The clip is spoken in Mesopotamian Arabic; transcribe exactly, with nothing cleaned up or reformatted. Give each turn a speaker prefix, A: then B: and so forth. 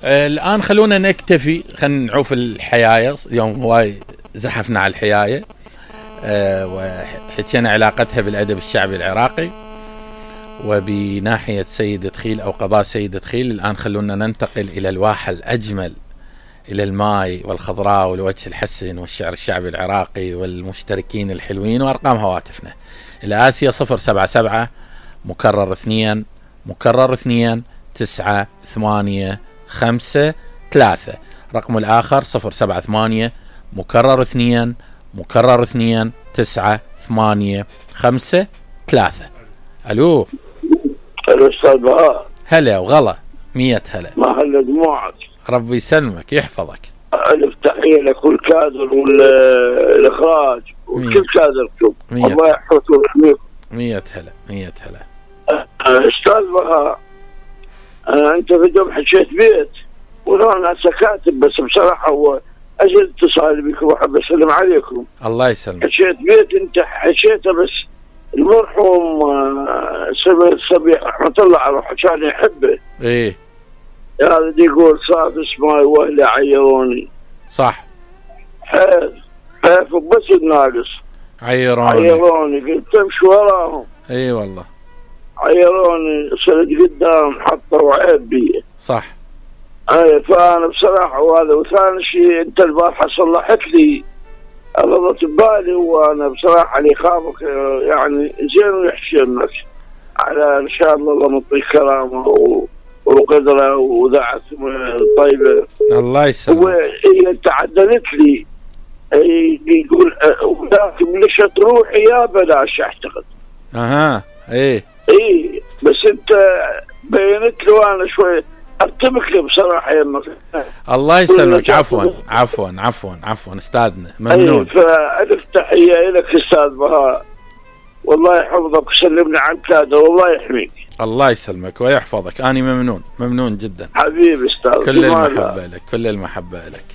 A: آه الان خلونا نكتفي، خلينا نعوف الحيايه، يوم هواي زحفنا على الحيايه آه وحكينا علاقتها بالادب الشعبي العراقي وبناحيه سيد دخيل او قضاء سيد دخيل. الان خلونا ننتقل الى الواحه الاجمل، إلى الماي والخضراء والوجه الحسن والشعر الشعبي العراقي والمشتركين الحلوين وأرقام هواتفنا. الآسيا صفر سبعة سبعة مكرر اثنين مكرر اثنين تسعة ثمانية خمسة ثلاثة. رقم الآخر صفر سبعة ثمانية مكرر اثنين مكرر اثنين تسعة ثمانية خمسة ثلاثة. ألو
B: ألو أستاذ بهاء.
A: هلا وغلا، مية هلا.
B: ما هلا دموعك.
A: ربي يسلمك يحفظك.
B: ألف تحية لكل كادر والإخراج وكل كادركم، الله يحفظكم ويحميكم.
A: مية هلا مية هلا.
B: أستاذ بهاء، أنت في دوم حكيت بيت وأنا سكاتب، بس بصراحة هو أجل اتصال بكم وأحب أسلم عليكم.
A: الله يسلمك.
B: حكيت بيت أنت حكيته، بس المرحوم سمير الصبيح رحمة الله عليه كان يحبه.
A: إيه
B: هذا يقول صاد اسماي واهلي عيروني.
A: صح.
B: حيف حيف بس الناقص
A: عيروني
B: عيروني قلت امشي وراهم.
A: اي والله
B: عيروني صرت قدام حطوا وعيب بي.
A: صح.
B: اي فانا بصراحه، وهذا وثاني شيء انت البارحه صلحت لي غلطت ببالي، وانا بصراحه اللي خافك يعني زين ويحشمك على ان شاء الله الله يعطيك كرامه و وقدره وذاعت طيبه.
A: الله يسلمك.
B: وهي تعدلت لي يقول ولكن ليش تروحي يا بلاش اعتقد.
A: اها ايه
B: ايه بس انت بينت له انا شوي ارتبك لي بصراحه يمك.
A: الله يسلمك. عفوا عفوا عفوا عفوا استاذنا ممنون.
B: ايه فالف تحيه لك استاذ بهاء، والله يحفظك وسلمنا عن كادر والله يحميك.
A: الله يسلمك ويحفظك، أنا ممنون ممنون جدا
B: حبيبي استاذ.
A: كل المحبة لك كل المحبة لك.